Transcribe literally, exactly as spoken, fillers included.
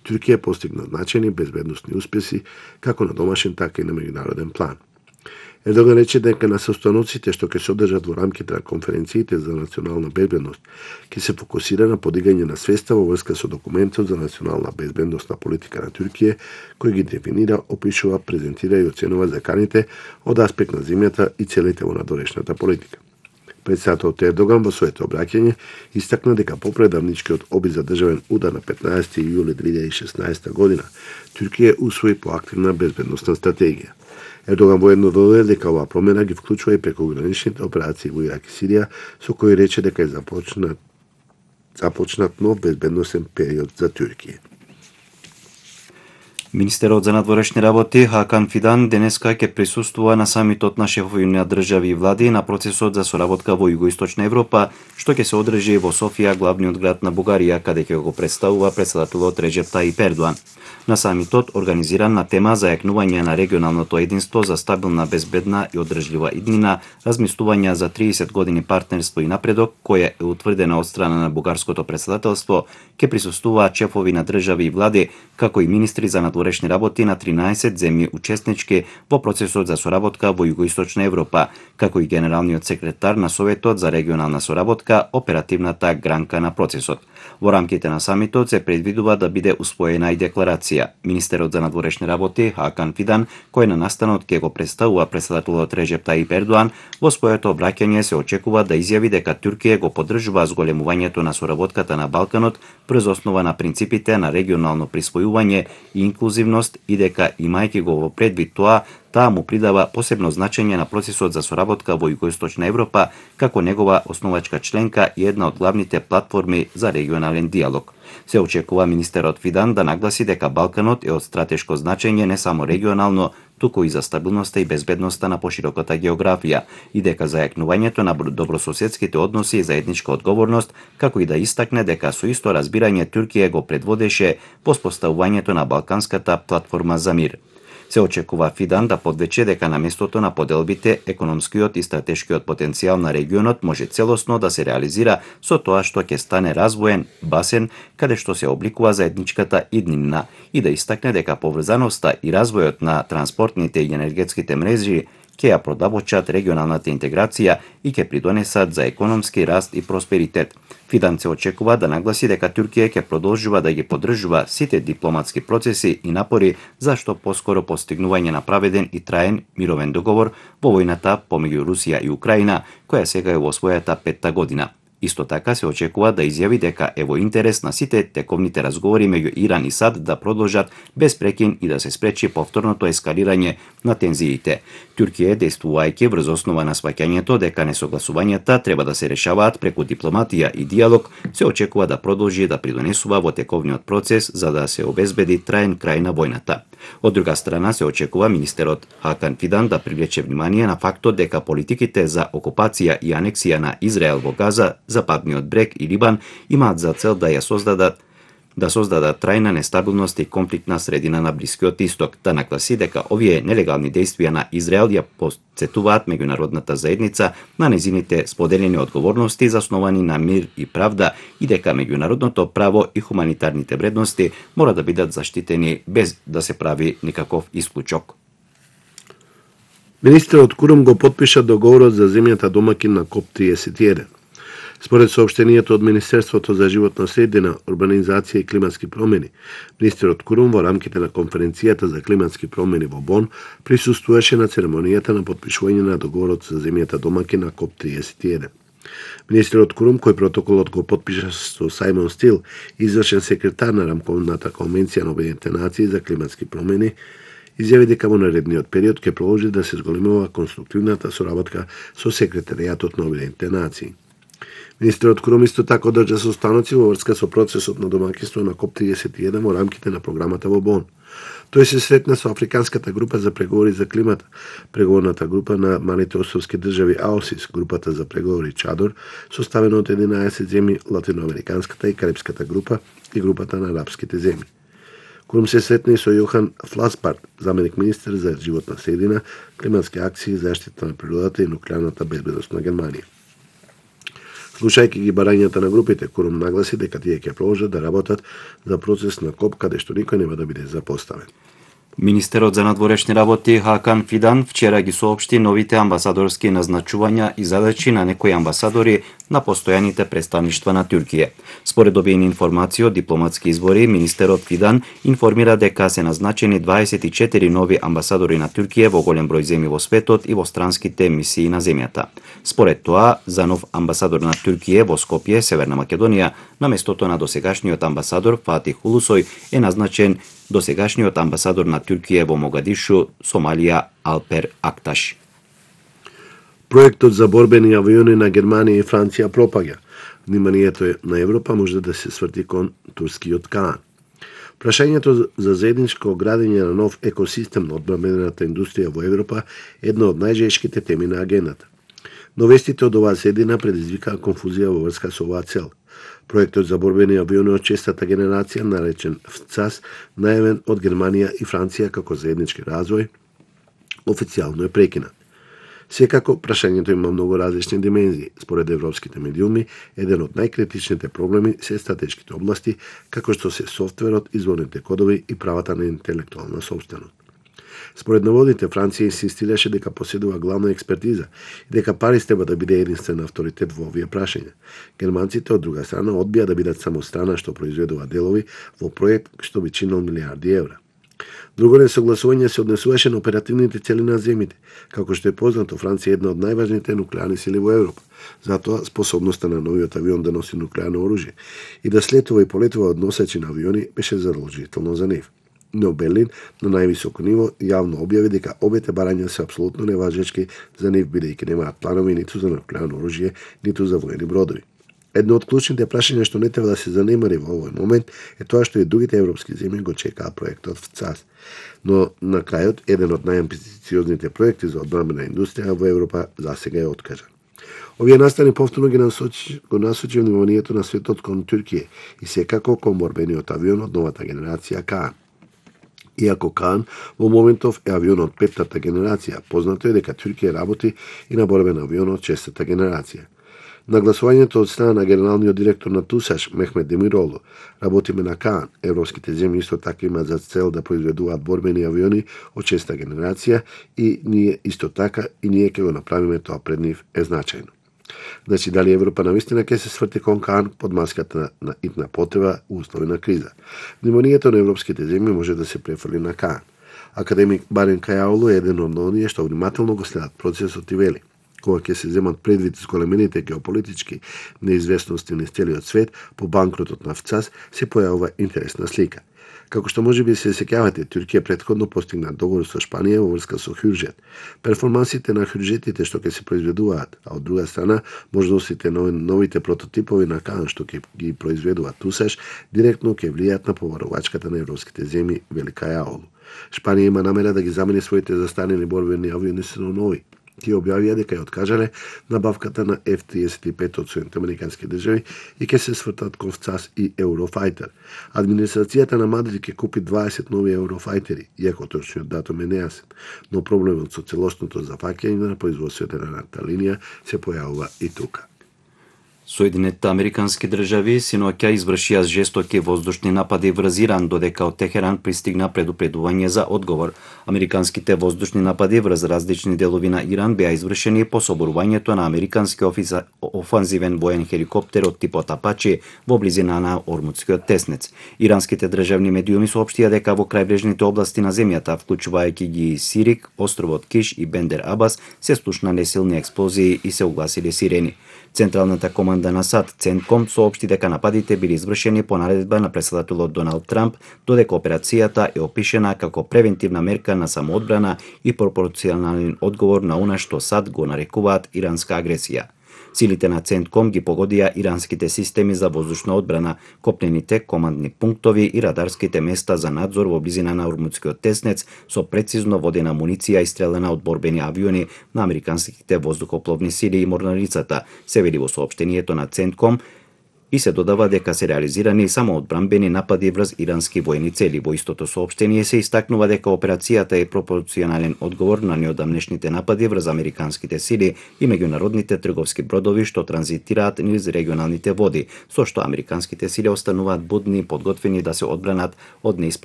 Туркија постигна значајни безбедносни успеси како на домашен така и на меѓународен план. Ердоган рече дека на состаноците што ќе се одржат во рамките на конференциите за национална безбедност ќе се фокусира на подигање на свеста во врска со документот за национална безбедносна политика на Туркија, кој ги дефинира, опишува, презентира и оценува заканите од аспект на земјата и целите во надворешната политика. Председателот Ердоган во своето обраќање истакна дека попредавничкиот обид за државен удар на петнаесети јули две илјади и шеснаесета година Туркија усвои поактивна безбедносна стратегија. Ердоган воедно додаде дека оваа промена ги вклучува и прекограничните операции во Ирак и Сирија, со кои рече дека е започнат, започнат нов безбедносен период за Туркија. Министерот за надворешни работи Хакан Фидан денеска ќе присуствува на самитот на шефови на држави и влади на процесот за соработка во Југоисточна Европа, што ќе се одржи во Софија, главниот град на Бугарија, каде ќе го представува председателот Реджеп Таип Ердоан. На самитот, организиран на тема за јакнување на регионалното единство за стабилна, безбедна и одржлива иднина, размислувања за триесет години партнерство и напредок, која е утврдена од страна на бугарското председателство, ќе присуствуваат шефови на држави и влади, како и министри за надворешни работи на тринаесет земји учеснички во процесот за соработка во Југоисточна Европа, како и генералниот секретар на Советот за регионална соработка, оперативната гранка на процесот. Во рамките на самитот се предвидува да биде успоена и декларација. Министерот за надворешни работи Хакан Фидан, кој на настанот ќе го представува председателот Реджеп Таип Ердоан, во своето обраќање се очекува да изјави дека Туркија го поддржува зголемувањето на соработката на Балканот врз основа на принципите на регионално присвојување и инклузивност и дека, имајќи го во предвид тоа, таа му придава посебно значење на процесот за соработка во Југоисточна Европа како негова основачка членка и една од главните платформи за регионален диалог. Се очекува министерот Фидан да нагласи дека Балканот е од стратешко значење не само регионално, туку и за стабилноста и безбедноста на пошироката географија и дека зајакнувањето на добрососедските односи е заедничка одговорност, како и да истакне дека со исто разбирање Туркија го предводеше во споставувањето на Балканската платформа за мир. Се очекува Фидан да подвече дека на местото на поделбите, економскиот и стратешкиот потенцијал на регионот може целосно да се реализира со тоа што ќе стане развоен басен каде што се обликува заедничката иднина и да истакне дека поврзаноста и развојот на транспортните и енергетските мрежи ќе ја продавочат регионалната интеграција и ќе придонесат за економски раст и просперитет. Фидан се очекува да нагласи дека Туркија ќе продолжува да ги поддржува сите дипломатски процеси и напори за што поскоро постигнување на праведен и траен мировен договор во војната помеѓу Русија и Украина, која сега е во својата петта година. Исто така се очекува да изјави дека е во интерес на сите тековните разговори меѓу Иран и САД да продолжат без прекин и да се спречи повторното ескалирање на тензиите. Туркија, действувајќи врз основа на сваќањето дека несогласувањата треба да се решаваат преку дипломатија и диалог, се очекува да продолжи да придонесува во тековниот процес за да се обезбеди траен крај на војната. Од друга страна се очекува министерот Хакан Фидан да привлече внимание на фактот дека политиките за окупација и анексија на Израел во Газа, Западниот брег и Либан имаат за цел да ја создадат да создадат трајна нестабилност и конфликтна средина на Блискиот Исток, да нагласи дека овие нелегални действија на Израел ја потсетуваат меѓународната заедница на незините споделени одговорности засновани на мир и правда и дека меѓународното право и хуманитарните вредности мора да бидат заштитени без да се прави никаков исклучок. Министерот Курум го потпиша договорот за земјата домакин на КОП триесет и еден. Според соопштението од Министерството за животна средина, урбанизација и климатски промени, министерот Курум во рамките на конференцијата за климатски промени во Бон присуствуваше на церемонијата на потпишување на договорот за земјата домакин на КОП триесет и еден. Министерот Курум, кој протоколот го потпиша со Сајмон Стил, извршен секретар на рамковната конвенција на Обединетите нации за климатски промени, изјави дека во наредниот период ќе продолжи да се зголемува конструктивната соработка со секретаријатот на Обединетите нации. Министерот Курум исто така одржа состаноци во врска со процесот на домаќинство на КОП триесет и еден во рамките на програмата во Бон. Тој се сретна со Африканската група за преговори за климата, преговорната група на малите островски држави АОСИС, групата за преговори Чадор, составена од единаесет земји, Латиноамериканската и Карипската група и групата на арапските земји. Курум се сретна и со Јохан Фласбард, заменик министер за животна средина, климатски акции, заштита на природата и нуклеарната безбедност на Германија. Слушајќи ги барањата на групите, Курум нагласи дека тие ќе продолжат да работат за процес на КОП каде што никој нема да биде запоставен. Министерот за надворешни работи Хакан Фидан вчера ги соопшти новите амбасадорски назначувања и задачи на некои амбасадори на постојаните представништва на Туркија. Според добиени информации од дипломатски избори, министерот Фидан информира дека се назначени дваесет и четири нови амбасадори на Туркија во голем број земји во светот и во странските мисии на земјата. Според тоа, за нов амбасадор на Туркија во Скопје, Северна Македонија, на местото на досегашниот амбасадор Фатих Улусој е назначен досегашниот амбасадор на Туркија во Могадишу, Сомалија, Алпер Акташ. Проектот за борбени авиони на Германија и Франција пропаѓа. Вниманието на Европа може да се сврти кон турскиот Каан. Прашањето за заедничко градење на нов екосистем на одбранбената индустрија во Европа е една од најжешките теми на агендата. Но вестите од оваа седина предизвикаа конфузија во врска со оваа цел. Проектот за борбени авиони од шестата генерација, наречен ФЦАС, најавен од Германија и Франција како заеднички развој, официјално е прекинат. Секако, прашањето има многу различни димензии. Според европските медиуми, еден од најкритичните проблеми се стратешките области, како што се софтверот, изворните кодови и правата на интелектуална собственост. Според наводите, Франција инсистираше дека поседува главна експертиза и дека Париз треба да биде единствен авторитет во овие прашања. Германците, од друга страна, одбија да бидат само страна што произведува делови во проект што би чинил милиарди евра. Друго несогласување се однесуваше на оперативните цели на земјите. Како што е познато, Франција е една од најважните нуклеарни сили во Европа. Затоа способноста на новиот авион да носи нуклеарно оружје и да слетува и полетува од носачи на авиони беше задолжително за нив. Но Берлин на највисоко ниво јавно објави дека обете барања се апсолутно неважечки за нив, бидејќи немаат планови ниту за нуклеарно оружје, ниту за воени бродови. Едно од клучните прашања што не треба да се занемари во овој момент е тоа што и другите европски земји го чекаа проектот ФЦАС. Но на крајот, еден од најамбициозните проекти за одбранбена индустрија во Европа засега е откажан. Овие настани повторно ги насочи, го насочи вниманието на светот кон Туркија и секако кон борбениот авион од новата генерација Каан. Иако Каан во моментов е авион од петтата генерација, познато е дека Туркија работи и на борбен авион од шестата генерација. Нагласувањето од страна на генералниот директор на ТУСАШ, Мехмет Демиролу, работиме на Каан. Европските земји исто така имаат за цел да произведуваат борбени авиони од шеста генерација и ние исто така и ние ќе го направиме тоа пред нив е значајно. Значи, дали Европа навистина ќе се сврти кон Каан под маската на итна потреба у услови на криза? Вниманието на европските земји може да се префрли на Каан. Академик Барен Кајаолу е еден од оние што внимателно го следат процесот и вели: кога ќе се земат предвид зголемените геополитички неизвестности низ целиот свет по банкротот на ФЦАС, се појавува интересна слика. Како што можеби се сеќавате, Туркија претходно постигна договор со Шпанија во врска со Хюрџет. Перформансите на Хюрџетите што ќе се произведуваат, а од друга страна можностите на новите прототипови на Каан што ќе ги произведува ТУСАШ, директно ќе влијаат на поварувачката на европските земји, вели Кајаолу. Шпанија има намера да ги замени своите застарени борбени авиони со нови. Тие објавија дека ја откажале набавката на Еф триесет и пет од Соединетите американски држави и ќе се свртат кон ФЦАС и Eurofighter. Администрацијата на Мадрид ќе купи дваесет нови Euroфайтери, иако точниот датум е нејасен, но проблемот со целосното зафаќање на производството на едната линија се појавува и тука. Соединетите американски држави синоќа извршија жестоки воздушни напади врз Иран, додека од Техеран пристигна предупредување за одговор. Американските воздушни напади врз различни делови на Иран беа извршени по соборувањето на американски офиса, офанзивен воен хеликоптер од типот Апачи во близина на Ормутскиот теснец. Иранските државни медиуми соопштија дека во крајбрежните области на земјата, вклучувајќи ги Сирик, островот Киш и Бендер Абас, се слушна несилни експлозии и се угласиле сирени. Централната команда на САД, Центком, соопшти дека нападите били извршени по наредба на претседателот Доналд Трамп, додека операцијата е опишена како превентивна мерка на самоодбрана и пропорционален одговор на она што САД го нарекуваат иранска агресија. Силите на Центком ги погодија иранските системи за воздушна одбрана, копнените командни пунктови и радарските места за надзор во близина на Ормутскиот теснец со прецизно водена муниција истрелена од борбени авиони на американските воздухопловни сили и морнарицата, се вели во соопштението на Центком. и се додава дека се реализирани само одбранбени напади врз ирански воени цели. Во истото соопштение се истакнува дека операцијата е пропорционален одговор на неодамнешните напади врз американските сили и меѓународните трговски бродови што транзитираат низ регионалните води, со што американските сили остануваат будни и подготвени да се одбранат од неиспловување